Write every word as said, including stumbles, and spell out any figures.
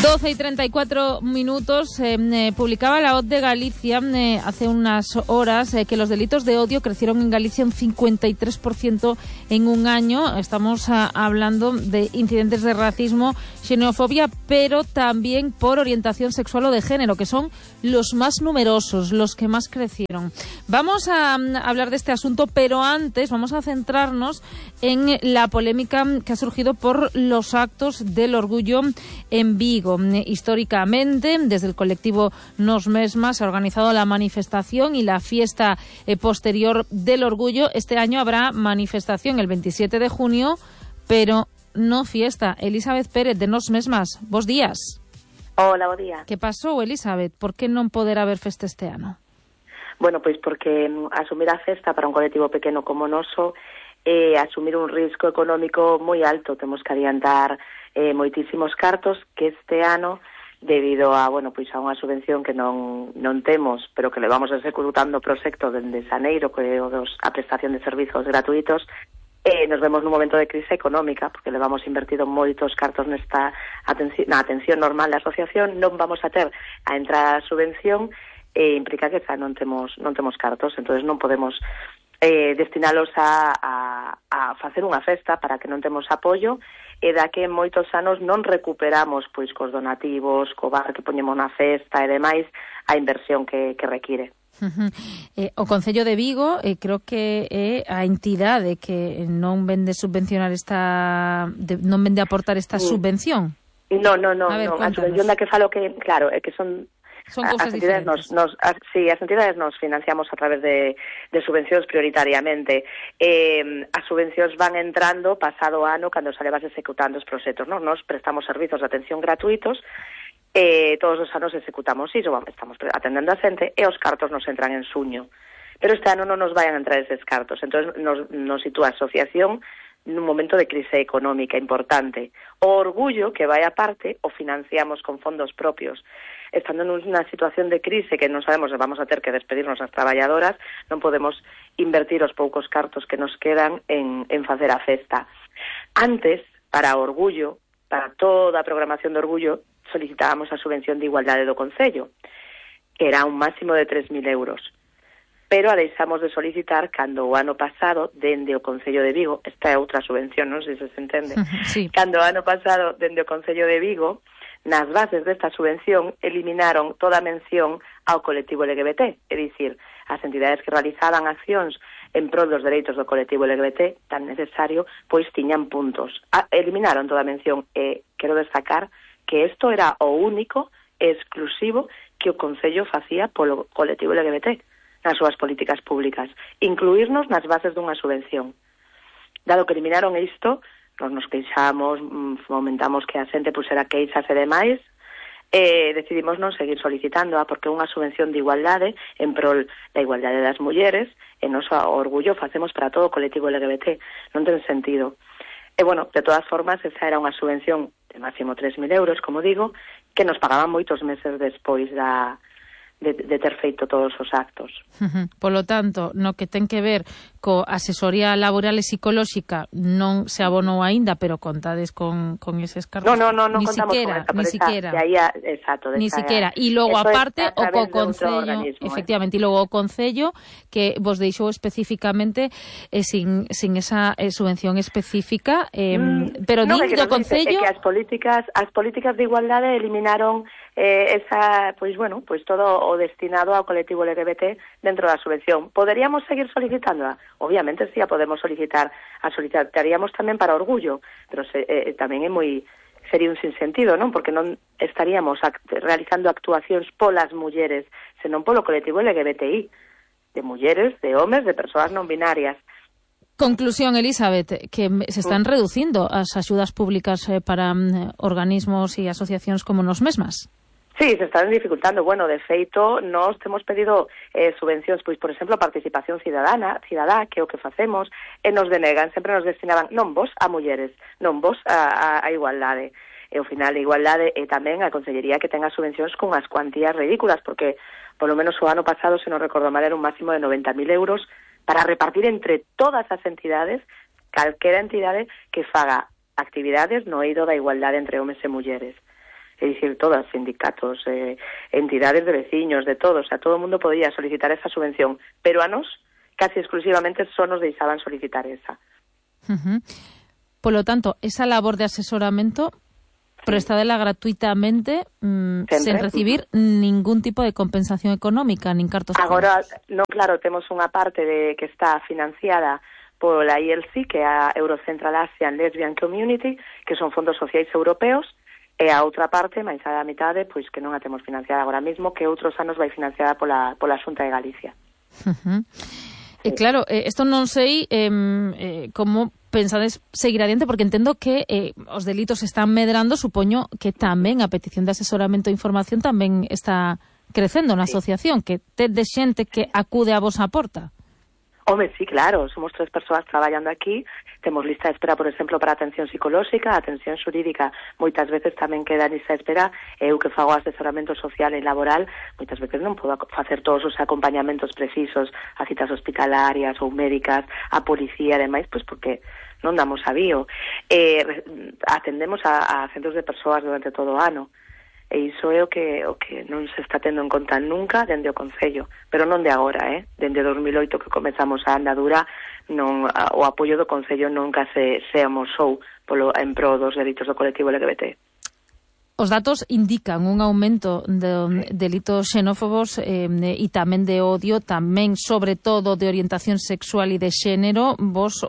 doce y treinta y cuatro minutos, eh, eh, publicaba la O T de Galicia eh, hace unas horas eh, que los delitos de odio crecieron en Galicia un cincuenta y tres por ciento en un año. Estamos a, hablando de incidentes de racismo, xenofobia, pero también por orientación sexual o de género, que son los más numerosos, los que más crecieron. Vamos a, a hablar de este asunto, pero antes vamos a centrarnos en la polémica que ha surgido por los actos del orgullo en Vigo. Históricamente, desde el colectivo Nos Mesmas se ha organizado la manifestación y la fiesta eh, posterior del orgullo. Este año habrá manifestación el veintisiete de junio, pero no fiesta. Elizabeth Pérez, de Nos Mesmas, bos días. Hola, bo día. Que pasou, Elizabeth? Por que non poder haber festa este ano? Bueno, pois porque asumir a festa para un colectivo pequeno como o noso é eh, asumir un risco económico moi alto. Temos que adiantar eh, moitísimos cartos que este ano, debido a, bueno, pois a unha subvención que non non temos, pero que levamos executando o proxecto dende xaneiro, que é o dos, a prestación de servizos gratuitos, eh, nos vemos nun momento de crise económica, porque levamos invertido moitos cartos nesta atención, na atención normal da asociación, non vamos a ter a entrada a subvención, e implica que xa non temos non temos cartos, entonces non podemos eh, destinalos a, a, a facer unha festa para que non temos apoio, e da que en moitos anos non recuperamos pois cos donativos, co bar que poñemos na festa e demais, a inversión que, que require. Uh-huh. Eh, o Concello de Vigo eh, creo que é a entidade que non vende subvencionar esta de, non vende aportar esta sí. subvención. No, no, no, a, ver, no. A subvención da que falo que, claro, é que son Son cousas as entidades nos, nos, as, sí, as entidades nos financiamos a través de, de subvencións prioritariamente. Eh, as subvencións van entrando pasado ano cando se levas executando os proxectos. ¿No? Nos prestamos servizos de atención gratuitos, eh, todos os anos executamos iso, estamos atendendo a xente e os cartos nos entran en suño. Pero este ano non nos vayan a entrar eses cartos. Entón nos, nos sitúa a asociación nun momento de crise económica importante. O orgullo, que vai aparte, o financiamos con fondos propios. Estando nunha situación de crise que non sabemos se vamos a ter que despedirnos as traballadoras, non podemos invertir os poucos cartos que nos quedan en, en facer a festa. Antes, para o orgullo, para toda a programación de orgullo, solicitábamos a subvención de igualdade do Concello, que era un máximo de tres mil euros. Pero a deixamos de solicitar cando o ano pasado, dende o Concello de Vigo, esta é outra subvención, non sei se se entende, sí. Cando o ano pasado, dende o Concello de Vigo, nas bases desta subvención, eliminaron toda a mención ao colectivo L G B T, é dicir, as entidades que realizaban accións en prol dos dereitos do colectivo L G B T, tan necesario, pois tiñan puntos. A, eliminaron toda a mención, e quero destacar que isto era o único e exclusivo que o Concello facía polo colectivo L G B T, nas súas políticas públicas, incluirnos nas bases dunha subvención. Dado que eliminaron isto, nos nos queixamos, fomentamos que a xente pusera queixas e demais, e decidimos non seguir solicitándoa, porque é unha subvención de igualdade en prol da igualdade das mulleres, e nos orgullo facemos para todo o colectivo L G B T, non ten sentido. E, bueno, de todas formas, esa era unha subvención de máximo tres mil euros, como digo, que nos pagaban moitos meses despois da De, de ter feito todos os actos. Uh-huh. Polo tanto, no que ten que ver co asesoría laboral e psicolóxica non se abonou aínda, pero contades con, con eses cartos. No, no, no, no ni contamos siquiera, con esa, ni esa, siquiera. De aí a, exacto, de ni esa, siquiera. E logo aparte o co Concello, efectivamente, eh? e logo o Concello que vos deixou especificamente eh, sin, sin esa eh, subvención específica, eh, mm, pero no, din do Concello... É que as políticas, as políticas de igualdade eliminaron eh, esa, pois bueno, pois todo o destinado ao colectivo L G B T dentro da subvención. Poderíamos seguir solicitándola? Obviamente sí, a podemos solicitar, a solicitaríamos tamén para orgullo, pero se, eh, tamén é moi sería un sinsentido, non? Porque non estaríamos act realizando actuacións polas mulleres, senón polo colectivo L G B T I, de mulleres, de homes, de persoas non binarias. Conclusión, Elizabeth, que se están reducindo as axudas públicas eh, para um, organismos e asociacións como Nos Mesmas. Sí, se están dificultando. Bueno, de feito, nós temos pedido eh, subvencións, pois, por exemplo, a participación cidadana, cidadá, que é o que facemos, e nos denegan, sempre nos destinaban non vos a mulleres, non vos a, a, a igualdade. E ao final a igualdade e tamén a Consellería que ten as subvencións con as cuantías ridículas, porque polo menos o ano pasado, se non recordo mal, era un máximo de noventa mil euros para repartir entre todas as entidades, calquera entidade que faga actividades no eido da igualdade entre homes e mulleres. é dicir, todas, sindicatos, eh, entidades de veciños, de todos, o sea, todo o mundo podía solicitar esa subvención, pero a nos, casi exclusivamente, só nos deixaban solicitar esa. Uh-huh. Polo tanto, esa labor de asesoramento prestadela gratuitamente mmm, sen recibir ningún tipo de compensación económica, nin cartos. Agora, non, claro, temos unha parte de que está financiada pola I L C, que é a Eurocentral Asian Lesbian Community, que son fondos sociais europeos, e a outra parte, máis a mitade, pois que non a temos financiada agora mesmo, que outros anos vai financiada pola, pola Xunta de Galicia. Uh-huh. E claro, isto eh, non sei eh, eh, como pensades seguir adiante, porque entendo que eh, os delitos están medrando, supoño que tamén a petición de asesoramento e información tamén está crecendo na sí. asociación, que tedes xente que acude a vosa porta. Home, sí, claro, somos tres persoas traballando aquí, temos lista de espera, por exemplo, para atención psicolóxica, atención xurídica, moitas veces tamén queda lista de espera, eu que fago asesoramento social e laboral, moitas veces non podo facer todos os acompañamentos precisos a citas hospitalarias ou médicas, a policía e demais, pois porque non damos avío. Eh, atendemos a, a centros de persoas durante todo o ano, e iso é o que o que non se está tendo en conta nunca dende o Concello, pero non de agora, eh? Dende dos mil oito que comezamos a andadura, non a, o apoio do Concello nunca se, se amosou polo, en pro dos delitos do colectivo L G B T. Os datos indican un aumento de delitos xenófobos eh, e tamén de odio, tamén sobre todo de orientación sexual e de xénero. Vos